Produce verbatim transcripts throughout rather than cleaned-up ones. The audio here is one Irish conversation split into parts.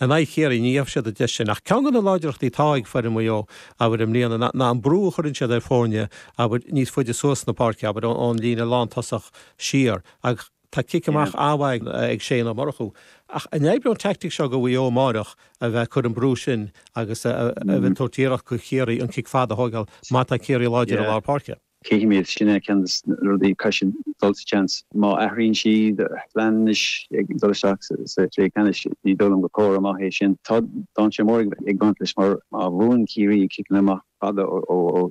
In aghaidh Chiarraí, ní gheobhaidh siad an deis sin. Ach ceann de na láidreachtaí atá ag foireann Mhaigh Eo, abair, i mbliana, ná ná an brú a chuireann siad ar foirne, abair, níos faide suas na páirce, abair, ón líne lántosach siar. Ach tá cic amach an-mhaith ag Shane Ó Murchú. Ach an oibreoidh an teaictic seo do Mhaigh Eo amáireach a bheith ag cur an brú sin agus a bheith ag tabhairt iarracht do Chiarraí an cic fada a thógáil má tá Ciarraí láidir i lár páirce? Cífimid, sin é ceann de na rudaí, caithfidh siad dul sa tseans. Má athraíonn siad a bplean anois ag dul isteach sa chluiche ceannais, ní dóigh liom gur comhartha maith é sin. Tá dainséar mór ag baint leis mar má bhuann Ciarraí ciceanna amach fada ó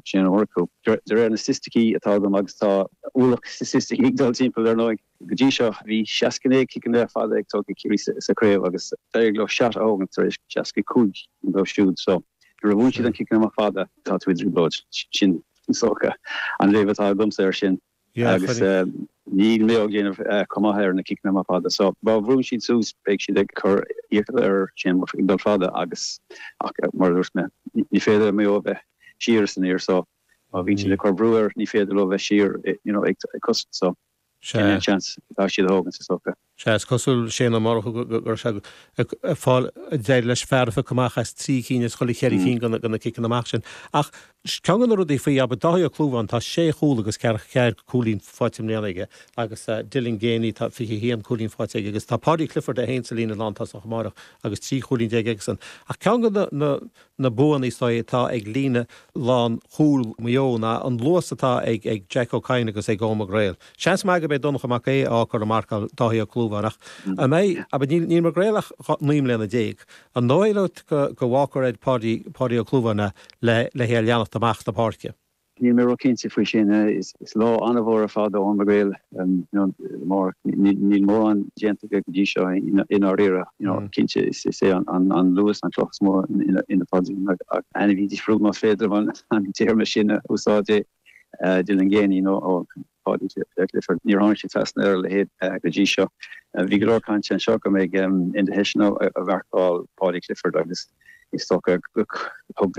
Shane Ó Murchú, de réir na staitisticí atá agam, agus tá ualach staitisticí ag dul timpeall ar ndóigh, go dtí seo bhí seasca naoi ciceanna fada ag tógtha ag Ciarraí sa chraobh agus d'éirigh leo seat a thógaint tar éis seasca cúig dóibh siúd. So nuair a bhuann siad an ciceanna amach fada, tá tú i dtrioblóid. Sin is dócha an léamh atá agamsa air sin agus níl Maigh Eo ag déanamh chomh maith ar na ciceanna amach fada. So má bhrúnn siad suas beidh siad ag cur iachall ar Shane Murphy ag dul fada agus ach mar a dúirt mé ní féidir le Maigh Eo bheith siar is aniar so má bhíonn siad ag cur brú air ní féidir leo bheith siar you know ag cosaint so sin é an seans atá siad a thógaint is dócha. Sea, is cosúil Shane Ó Murchú go raibh sé ag fáil, d'éirigh leis fear a phiocadh amach as trí cinn as chuile cheithre cinn de na ciceanna amach sin. Ach ceann de na rudaí faoi, abair, Dáithí Ó Clúmháin, tá sé chúl agus ceathracha ceathair cúilín faighte i mbliana aige agus Dylan Geaney, tá fiche haon cúilín faighte aige agus tá Paudie Clifford é féin sa líne lántosach amárach agus trí chúilín déag aigesan. Ach ceann de na na buanna is dóigh atá ag líne lánchúil Mhaigh Eo ná an luas atá ag ag Jack Ó Cadhain agus ag Eoin Mac Gréil. Seans maith gurb é Donncha Mac Aodha a fhágfar ag marcáil Dáithí Ó Clúmháin ach an mbeidh, abair, níl níl Mac Gréil ach naoi mbliana déag. An dóigh leat go go bhfágfar ar Pháidí Páidí Ó Clúmháin é le le hé a leanacht amach na páirce? Níl mé ró-chinnte faoi sin. Is lá an-mhór ar fad d'Eoin Mac Gréil amárach. Níl mórán déanta aige go dtí seo i ndáiríre. Cinnte is é an luas an chloch is mó ina phaidrín ach ainmhí difriúil más féidir an téarma sin a úsáid é Dylan Geaney nó Paudie Clifford. Níor tháinig sé trasna ar a leithéid go dtí seo. Bhí go leor cainte anseo go mbeidh Enda Hession ag marcáil Paudie Clifford agus Is dócha gur thug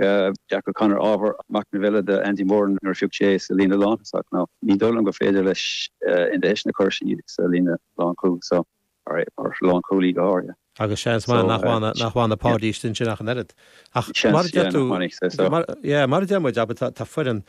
Jack O'Connor ábhar machnaimh eile do Andy Moran nuair a phioc sé é sa líne lántosach. Nó ní dóigh liom gur féidir leis Enda Hession a chur sa líne lánchúil so, mar lánchúlaí go háirithe. Agus seans maith nach bhfanfaidh Paudie istigh ansin ach an oiread. Ach mar a deir tú, yeah, mar a deir muid, abair, tá foireann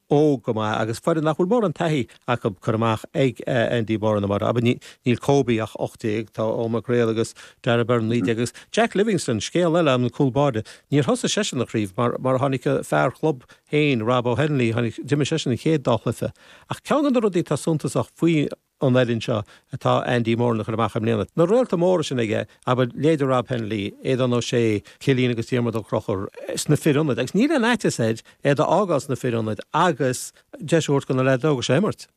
óg go maith agus foireann nach bhfuil mórán taithí acu curtha amach ag Andy Moran amárach. Abair, níl Kobe ach ocht déag, tá Eoin Mac Gréil agus Darragh Beirne naoi déag agus Jack Livingstone, scéal eile, an cúl báire, níor thosaigh seisean an chraobh mar mar tháinig a fear club féin, Rob O'Henley, tháinig, d'imir seisean an chéad dá chluiche. Ach ceann de na rudaí atá suntasach faoi an fhoireann seo atá Andy Moran a chur amach i mbliana. Na réalta móra sin aige, abair, leithéide Rob Hennelly, Aodán Ó Sé, Cillian agus Diarmuid Ó Conchúir, sna fir ionaid, agus níl aon fhaitíos air iad a fhágáil sna fir ionaid agus deis a thabhairt do na leaids óga seo imirt.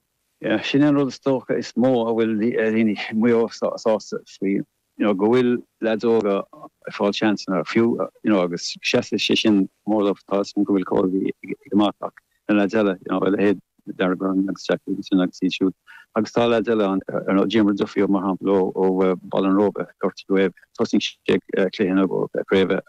Yeah, sin é an rud is dócha is mó a bhfuil daoine i Maigh Eo sásta faoi. you know, go bhfuil leaids óga ag fáil seansanna fiú, you know, agus seasfaidh sé sin mór dóibh, tá 'fhios agam go bhfuil Colby ag amach ach na leaids eile, you know, a leithéid Darragh Beirne agus Jack Livingstone agus iad siúd. Agus tá leaids eile ann, ar nós Diarmuid Duffy mar shampla ó ó Baile an Róba, gortaithe uaidh, thosaigh sé cluiche na craoibhe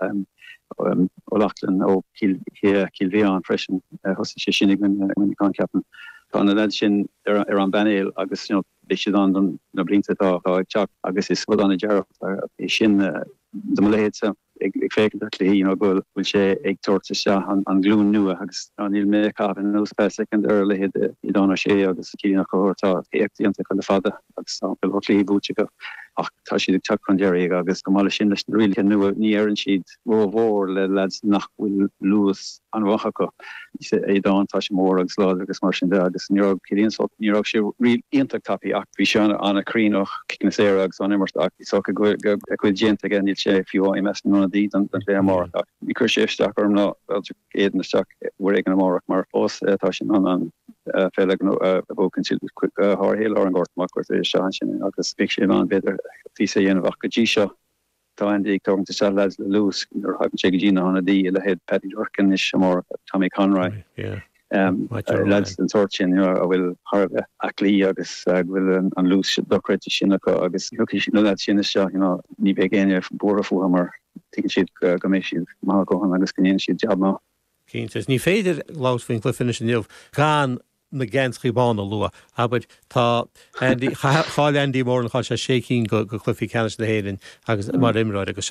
O'Loughlin ó Chill Chill Mhiacháin freisin, thosaigh sé sin i gcoinne Muineachán ceapaim. Tá na leaids sin ar ar an bpainéal agus, you know, Beidh siad ann don na blianta atá ag teacht agus is rud an-dearfach é sin do mo leithéidse ag féachaint ar chluichí, you know, go bhfuil sé ag tabhairt isteach an ghlúin nua agus níl mé ag caitheamh anuas feadh soicind ar a leithéid de Aodán Ó Sé agus Cillian Ó Conchúir, tá éacht déanta acu le fada agus tá go leor cluichí buaite acu ach tá siad ag teacht chun deiridh agus chomh maith leis sin leis na rialacha nua ní oireann siad rómhór le leaids nach bhfuil luas an-mhaith acu. Aodán, tá sé mór agus láidir agus mar sin de agus ní raibh Cillian so ní raibh sé riamh iontach tapaidh ach bhí sé an-chruinn ó chiceanna saora agus ón imirt ach is dócha go bhfuil a chuid déanta aige, níl sé fiú i measc na n-ionadaí don chluiche amárach ach ní chuirfidh sé isteach orm ná fáilte Aidan isteach uair éigin amárach mar fós tá sé in ann an pheil a bhuachaint go háirithe i lár an ghort má chuirtear isteach ansin é agus beidh sé in ann b'fhéidir píosa a dhéanamh ach go dtí seo Tá Andy ag tógaint isteach leaids le luas nuair a thagann sé go dtí na hionadaí, a leithéid Paddy Durcan anois amárach, Tommy Conroy, leaids den tsórt sin a bhfuil thar a bheith aclaí agus go bhfuil an luas dochreidte sin acu agus thiocfaidh na leaids sin isteach, you know, ní bheidh éinne buartha fúthu mar tuigeann siad go mbeidh siad maith a dhóthain agus go ndéanfaidh siad jab maith. Cinnte. Ní féidir labhairt faoin gcluiche anois inniu gan na geansaithe bána a lua. Abair, tá Andy, chaill Andy Moran, chaill sé sé cinn de chluichí ceannais na hÉireann agus mar imreoir agus